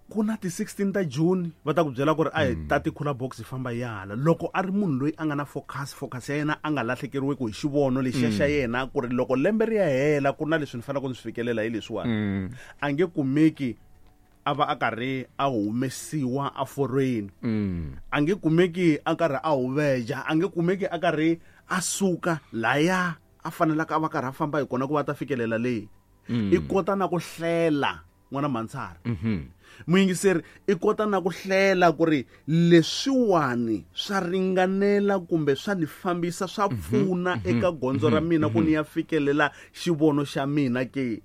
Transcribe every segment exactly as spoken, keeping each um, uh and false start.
Ku na ti sixteen ta June va ta ku byela ku ri a hi tati cooler box hi famba yala. Loko a ri munhu loyi a nga na focus, focus ya yena a nga lahlekeriwi hi xivono lexiya xa yena ku ri loko lembe ri ya hela ku na leswi ni faneleke ku swi fikelela hi leswiwani. A nge kumeki a va a karhi a humesiwa a forweni. A nge kumeki a karhi a huveja, a nge kumeki a karhi a suka laya a fanelaka a va karhi a famba hi kona ku va ta fikelela leyi. I kota na ku hlela n'wana Mhansara. Muyingiseri i kota na ku hlela ku ri leswiwani swa ringanela kumbe swa ni fambisa swa pfuna eka gondzo ra mina ku ni ya fikelela xivono xa mina ke.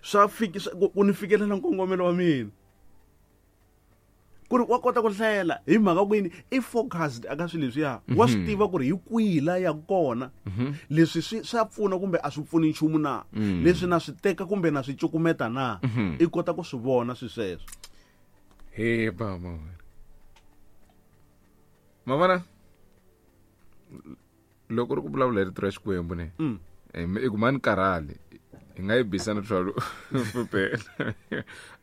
Swa fiki ku ni fikelela nkongomelo wa mina. Ku ri wa kota ku hlela hi mhaka ku yini i focused aka swilo leswiya. Wa swi tiva ku ri hi kwihi la ya kona. Leswi swi swa pfuna kumbe a swi pfuni nchumu na. Leswi na swi teka kumbe na swi cukumeta na. I kota ku swi vona swi sweswo. He baba. Mavona loko ri ku vulavula hi rito ra Xikwembu ne. I ku mani karhali. Hi nga yi bisa na twelve phela.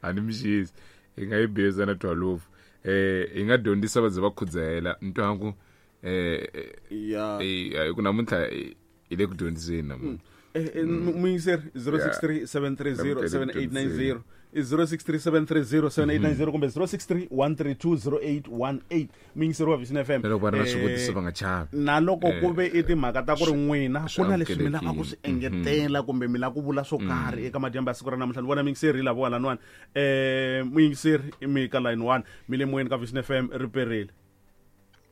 A ni mixisi. Hi nga yi bisa na twelve. Eh hi nga dyondzisa va ze va khudzahela ntwangu eh ya eh ku namuntlha hi le ku dyondziseni namuntlha. Eh muyingiseri zero six three seven three zero seven eight nine zero zero six three seven three zero seven eight nine zero kumbe zero six three one three two zero eight one eight. Muyingiseri wa Vision F M. Na loko va ri na swivutiso va nga chavi. Na loko ku ve i timhaka ta ku ri n'wina ku na leswi mi lavaka ku swi engetela kumbe mi lava ku vula swo karhi eka madyambu ya siku ra namuntlha. Ni vona muyingiseri lava wa laniwani. Eh muyingiseri mi ka line one mi le moyeni ka Vision F M ri perile.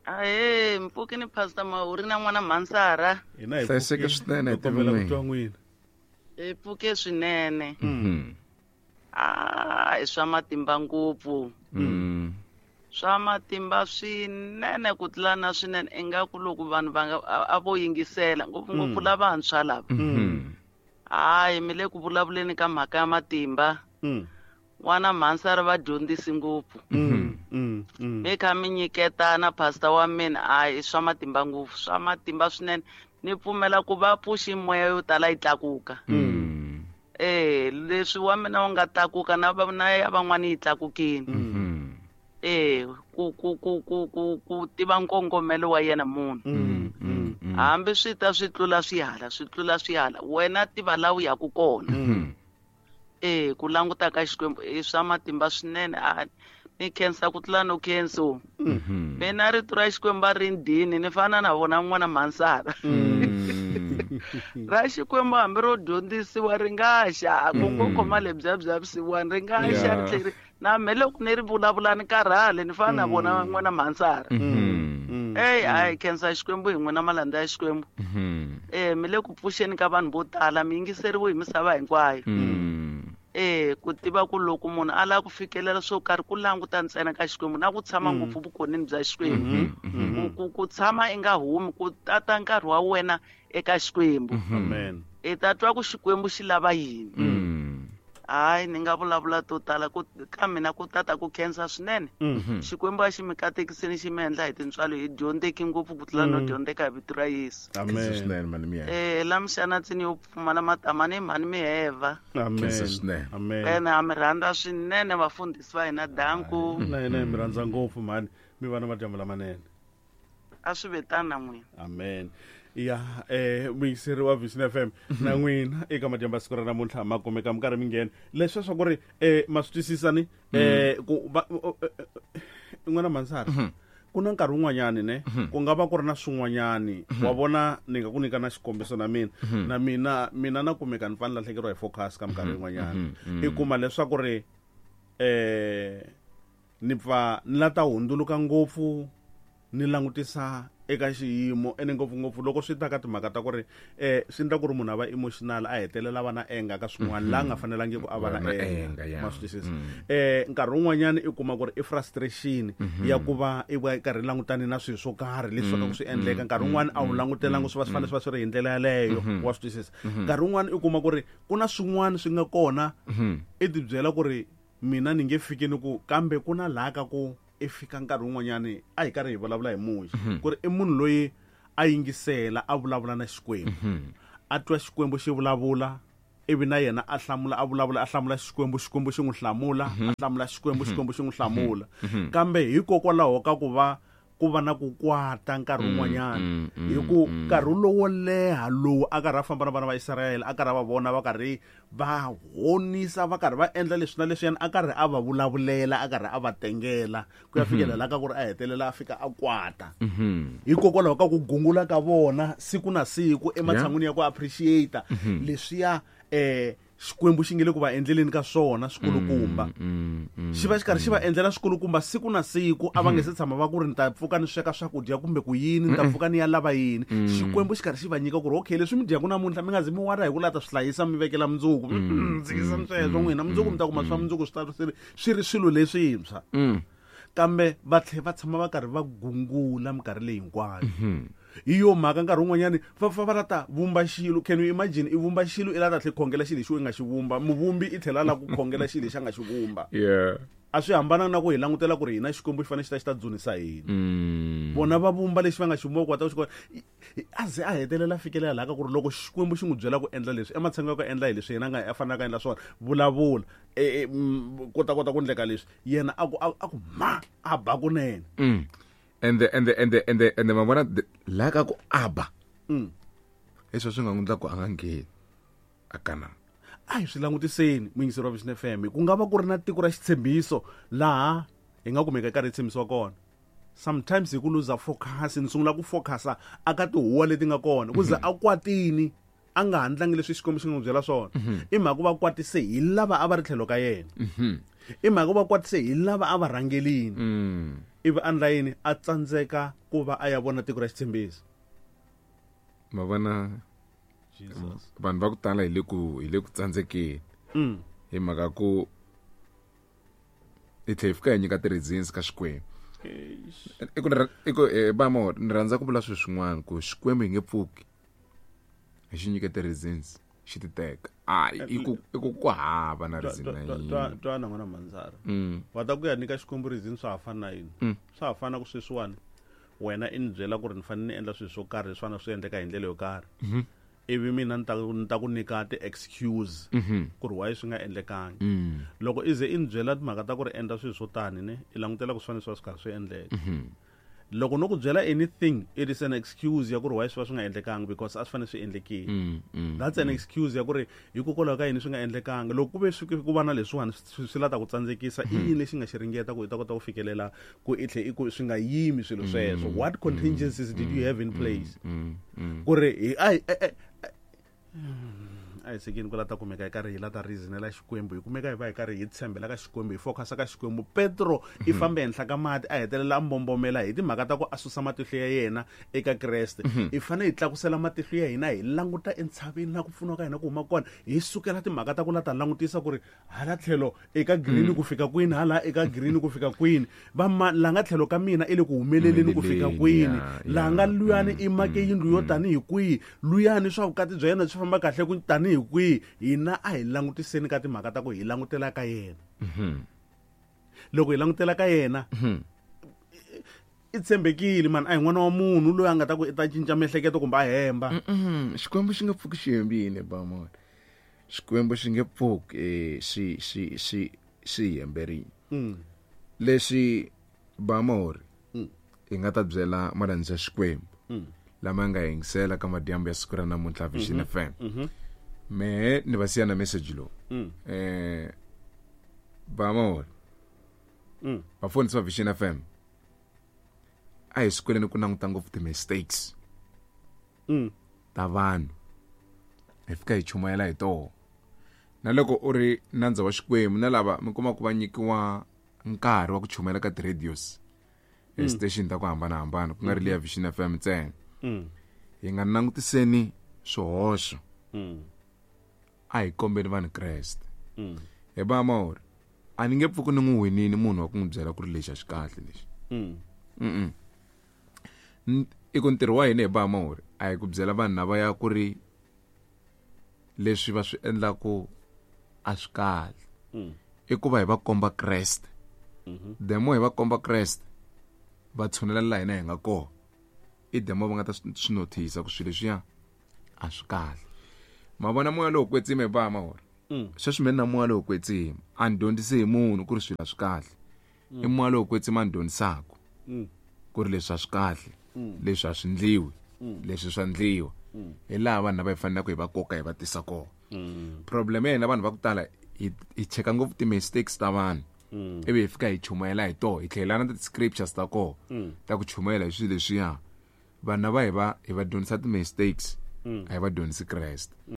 Ahe mpfuki ni Pastor Mahuri na n'wana Mhansara. Hina hi hlayiseke swinene hi kombela ku twa n'wina. Hi pfuke swinene. Ah, i swa matimba ngopfu. Swa matimba swinene ku tlula na swinene ingaku loko vanhu va nga a vo yingisela ngopfungopfu lavantshwa lava. Hayi mi le ku vulavuleni ka mhaka ya matimba. N'wana Mhansara va dyondzisi ngopfu. Mi kha mi nyiketana pastor wa mina hayi swa matimba ngopfu, swa matimba swinene. Ni pfumela ku va pfuxi moya yo tala yi tlakuka. Eh leswi wa mina wu nga tlakuka na na ya van'wani yi tlakukile. Eh ku ku ku ku ku ku tiva nkongomelo wa yena munhu. Hambi swi ta swi tlula swihala, swi tlula swihala wena tiva la u yaku kona. Eh ku languta ka Xikwembu i swa matimba swinene. A ni khensa ku tlula no khenso. Mina rito ra Xikwembu a ri ndini ni fana na vona n'wana Mhansara. Ra Xikwembu hambi ro dyondzisiwa ri nga xa ku ngo khoma lebya bya vusiwana ri nga xa ri tlheri na me loko ni ri vulavula ni karhale ni fana na vona n'wana Mhansara. Ey hayi khensa Xikwembu hi n'wina malandza ya Xikwembu. Eh mi le ku pfuxeni ka vanhu vo tala mi yingiseriwe hi misava hinkwayo. Eh ku tiva ku loko munhu a lava ku fikelela swo karhi ku languta ntsena ka Xikwembu na ku tshama ngopfu vukonini bya Xikwembu. Ku ku tshama i nga humi ku tata nkarhi wa wena eka Xikwembu. Amen. I ta twa ku Xikwembu xi lava yini. Hayi ni nga vulavula to tala ku ka mina ku tata ku khensa swinene. Xikwembu a xi mi katekiseni xi mi endla hi tintswalo hi dyondzeki ngopfu ku tlula no dyondzeka hi vito ra Yesu. Amen. Swinene mani miya. Eh la mixana tsini yo pfumala matama ni mhani mi heva. Amen. Swinene. Amen. Ene a mi rhandza swinene vafundhisi va hina danku. Na hina hi mi rhandza ngopfu mhani mi va na madyambu lamanene. A swi vetana na n'wina. Amen. Ya eh muyingiseri wa Vision F M na n'wina eka madyambu ya siku ra namuntlha ma kumeka mi karhi mi nghena leswi swa ku ri eh ma swi twisisa ni eh ku n'wana Mhansara ku na nkarhi wun'wanyani ne ku nga va ku ri na swin'wanyani wa vona ni nga ku nyika na xikombiso na mina na mina mina na kumeka ni fanele lahlekeriwa hi focus ka minkarhi yin'wanyana. I kuma leswaku ri eh ni pfa ni la ta hundzuluka ngopfu ni langutisa eka xiyimo ene ngopfungopfu loko swi ta ka timhaka ta ku ri eh swi endla ku ri munhu a va emotional a hetelela va na enga ka swin'wana la nga fanelangi ku a va na enga ma swi twisisa. Eh nkarhi wun'wanyana i kuma ku ri i frustration ya ku va i va karhi langutane na swilo swo karhi leswi swa ku swi endleka nkarhi wun'wana a wu langutelangi swi va swi fanele swi va swi ri hi ndlela yaleyo wa swi twisisa. Nkarhi wun'wana i kuma ku ri ku na swin'wana swi nga kona i tibyela ku ri mina ni nge fiki ni ku kambe ku na laha ka ku i fika nkarhi wun'wanyani a hi karhi hi vulavula hi Muxe ku ri i munhu loyi a yingisela a vulavula na Xikwembu a twa Xikwembu xi vulavula Ivi na yena a hlamula a vulavula a hlamula Xikwembu, Xikwembu xi n'wi hlamula, a hlamula Xikwembu, Xikwembu xi n'wi hlamula. Kambe hikokwalaho ka ku va ku va na ku kwata nkarhi wun'wanyana, hi ku nkarhi lowo leha lowu a karhi a famba na vana va Israyele, a karhi a va vona va karhi va honisa, va karhi va endla leswi na leswiyani, a karhi a va vulavulela, a karhi a va tengela ku ya fikela laha ka ku ri a hetelela a fika a kwata. Hikokwalaho ka ku gungula ka vona siku na siku ematshan'wini ya ku appreciate leswiya eh Xikwembu xi nge le ku va endleleni ka swona swikulukumba. Xi va xi karhi xi va endlela swikulukumba siku na siku, a va nge se tshama va ku ri ni ta pfuka ni sweka swakudya kumbe ku yini, ni ta pfuka ni ya lava yini. Xikwembu xi karhi xi va nyika ku ri okay, leswi mi dyaku namuntlha mi nga zi mi wara hi ku lata swi hlayisa mi vekela mundzuku. Dzikisani sweswo n'wina, mundzuku mi ta kuma swa mundzuku swi ta swi swi ri swilo leswintshwa. Kambe va tlhe va tshama va karhi va gungula minkarhi leyi hinkwayo. Hi yo mhaka nkarhi wun'wanyani va fa va la ta vumba xilo. Can you imagine i vumba xilo i la ta tlhe khongela xilo lexi u nga xi vumba, muvumbi i tlhela la ku khongela xilo lexi a nga xi vumba. Yeah. A swi hambana na ku hi langutela ku ri hina Xikwembu xi fanele xi ta xi ta dzunisa hina. Vona va vumba lexi va nga xi vumba ku ta xi kota. A ze a hetelela fikelela laha ka ku ri loko Xikwembu xi n'wi byela ku endla leswi, ematshan'wini ya ku endla hi leswi yena a nga a fanelaka a endla swona, vulavula kota kota ku endleka leswi, yena a ku a ku ma a ba kunene. And the and the and the and the and the mavona la ka ku aba. Mm. Leswi swi nga n'wi endla ku a nga ngheni a kana. A hi swi langutiseni muyingiseri wa Vision F M, ku nga va ku ri na tiko ra xitshembiso laha hi nga kumeka karhi hi tshembisiwa kona. Sometimes hi ku luza focus, ni sungula ku focusa aka tihuwa leti nga kona, ku ze a kwatini a nga handlangi leswi Xikwembu xi nga n'wi byela swona. I mhaka va kwatise hi lava a va ri tlhelo ka yena. I mhaka va kwatise hi lava a va rhangelini. Ivi a ndla yini, a tsandzeka ku va a ya vona tiko ra xitshembiso. Ma vona vanhu va ku tala hi le ku hi le ku tsandzekeni. Hi mhaka ku hi tlhela hi fika hi nyika ti-reasons ka Xikwembu. I ku i ku ba mo ni rhandza ku vula swilo swin'wana ku Xikwembu hi nge pfuki hi xi nyike ti-reasons xi ti teka. A i ku i ku ku hava na reason na yin'we. Twana n'wana Manzara, wa ta ku ya nyika Xikwembu reason swa ha fana na yini? Swa ha fana ku sweswiwani wena i ni byela ku ri ni fanele ni endla swilo swo karhi leswi fanele swi endleka hi ndlela yo karhi, ivi mina ni ta ni ta ku nyika ti-excuse ku ri why swi nga endlekangi. Loko i ze i ni byela timhaka ta ku ri endla swilo swo tani ne, i langutela ku swi fanele swi va swi karhi swi endleka. Loko no ku byela anything, it is an excuse ya ku ri why swi va swi nga endlekangi, because a swi fanele swi endlekile. That's an excuse ya ku ri hikokwalaho ka yini swi nga endlekangi. Loko ku ve swi ku va na leswiwani swi la ta ku tsandzekisa, i yini lexi nga xi ringeta ku i ta kota ku fikelela ku i tlhe i ku swi nga yimi swilo sweswo. What contingencies did you have in place? Ku ri hi a a hi sekeni ku la ta kumeka hi karhi hi la ta reasonela Xikwembu, hi kumeka hi va hi karhi hi tshembela ka Xikwembu, hi focusa ka Xikwembu. Petro i fambe henhla ka mati a hetelela a mbombomela hi timhaka ta ku a susa matihlo ya yena eka Kreste. Hi fanele hi tlakusela matihlo ya hina hi languta entshaveni la ku pfuniwa ka hina ku huma kona, hi sukela timhaka ta ku la ta langutisa ku ri hala tlhelo eka green ku fika kwini, hala eka green ku fika kwini, va la nga tlhelo ka mina i le ku humeleleni ku fika kwini, la nga luyani i make yindlu yo tanihi kwihi, luyani swa vukati bya yena swi famba kahle ku tanihi kwihi. Hina a hi langutiseni ka timhaka ta ku hi langutela ka yena. Loko hi langutela ka yena, i tshembekile man, a hi n'wana wa munhu loyi a nga ta ku i ta cinca miehleketo kumbe a hemba. Xikwembu xi nga pfuki xi hembile ba mona. Xikwembu xi nge pfuki xi xi xi xi hemberile. Leswi ba mori hi nga ta byela malandza ya Xikwembu lama nga yingisela ka madyambu ya siku ra namuntlha Vision F M. Me ni va siya na message lowu. Eh ba mori vafundhisi va Vision F M a hi swikweleni ku languta ngopfu ti-mistakes ta vanhu, hi fika hi chumayela hi toho. Na loko u ri nandza wa Xikwembu na lava mi kuma ku va nyikiwa nkarhi wa ku chumayela ka ti-radios station ta ku hambanahambana, ku nga ri leya Vision F M ntsena, hi nga langutiseni swihoxo, a hi kombeni vanhu Kreste. Hi ba mori a ni nge pfuki ni n'wi winini munhu wa ku n'wi byela ku ri lexi a xi kahle lexi. Mm. I ku ntirho wa hina hi ba mori a hi ku byela vanhu lava ya ku ri leswi va swi endlaku a swi kahle, i ku va hi va komba Kreste. The more hi va komba Kreste, va tshunela laha hina hi nga kona, i the more va nga ta swi notice ku swilo leswiya a swi kahle. Ma vona moya lowo kwetsima hi ba mahora. Sweswi mina na moya lowo kwetsima a ni dyondzisi hi munhu ku ri swilo a swi kahle. I moya lowo kwetsima a ni dyondzisaka ku ri leswi a swi kahle, leswi a swi ndliwi, leswi swa ndliwa. Hi laha vanhu lava hi faneleke hi va koka hi va tisa kona. Problem ya hina vanhu va ku tala hi hi cheka ngopfu ti-mistakes ta vanhu. Ivi hi fika hi chumayela hi toho, hi tlhela na ti-scriptures ta kona ta ku chumayela hi swilo leswiya. Vanhu lava hi va hi va dyondzisa ti-mistakes, a hi va dyondzisi Kreste.